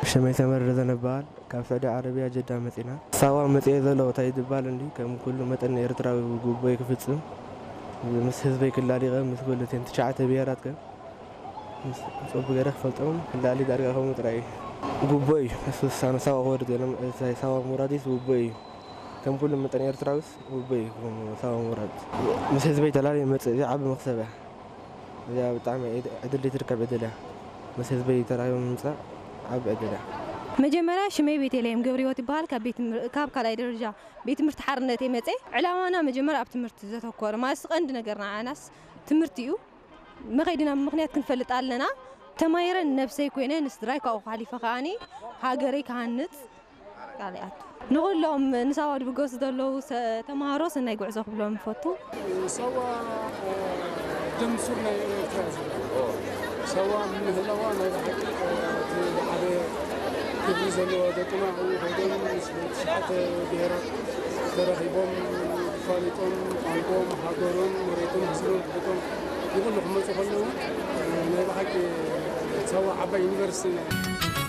ሽመይ ተመር ዘነባል ካብ ሳዑዲ ዓረብያ ጀዳ መጺና። ሳዋ መጺኤ ዘሎ እንታይ ዝበሃል እንዲ ከም ኩሉ መጠን ኤርትራዊ ጉቦይ ክፍጽም ምስ ህዝበይ ክላሊቐ ምስ ኩሉ እተን ትሽዓተ ብሄራት ከ ምስ ጽቡቅ ገይረ ክፈልጦም ክላሊ ዳርጋ ከምኡ ጥራይ እዩ። ጉቦይ ምስ ውሳነ ሳዋ ክወርድ ገለ ሳዋ ሙራዲስ ጉቦይ እዩ። ከም ኩሉ መጠን ኤርትራዊስ ጉቦይ እዩ ከም ሳዋ ሙራድ ምስ ህዝበይ ተላሊ መጽእ እዚ ዓቢ መክሰብ እያ። እዚኣ ብጣዕሚ ዕድል ዘይትርከብ ዕድል እያ። ምስ ህዝበይ ተራኺቦም ምምጻእ ዓቢ ዕድል እያ። መጀመርያ ሽመይ ቤተልሔም ገብረህይወት ይበሃል። ካብ ቤት ትምህር-፣ ካብ ካልኣይ ደረጃ ቤት ትምህርቲ ሓርነት እየ መጸ። ዕላማና መጀመርያ ኣብ ትምህርቲ ዘተኮረ ማለት ቀንዲ ነገር ንዓናስ ትምህርቲ እዩ። መኸይድና ምኽንያት ክንፈልጥ ኣለና። ተማሂረ ነብሰይ ኮይነ ንስድራይ ካብኡ ሓሊፈ ከኣኒ ሃገረይ ክሃንጽ ቃል ይኣቱ። ንኹሎም ንሳዋ ድብገሱ ዘለዉ ሰ-፣ ተምሃሮ ሰናይ ጉዕዞ ክብሎም እፈቱ። ሳዋ፣ እ፣ ደም ሱር ናይ ኤርትራ እያ ዘላ። ሳዋ ንምህላዋ ናይ ብሓቂ፣ እ፣ እቲ ዝዓበየ ክብሪ ዘለዎ ደቅና ኣብኡ ከይዶም ምስ ትሽዓተ ብሄራት ተረኺቦም ተፋሊጦም ቋንቋኦም፣ ሃገሮም፣ መሬቶም፣ ህዝቦም፣ ክብቶም ንኹሉ ክመፁ ከለዉ፣ እ፣ ናይ ብሓቂ ሳዋ ዓባይ ዩኒቨርሲቲ እያ።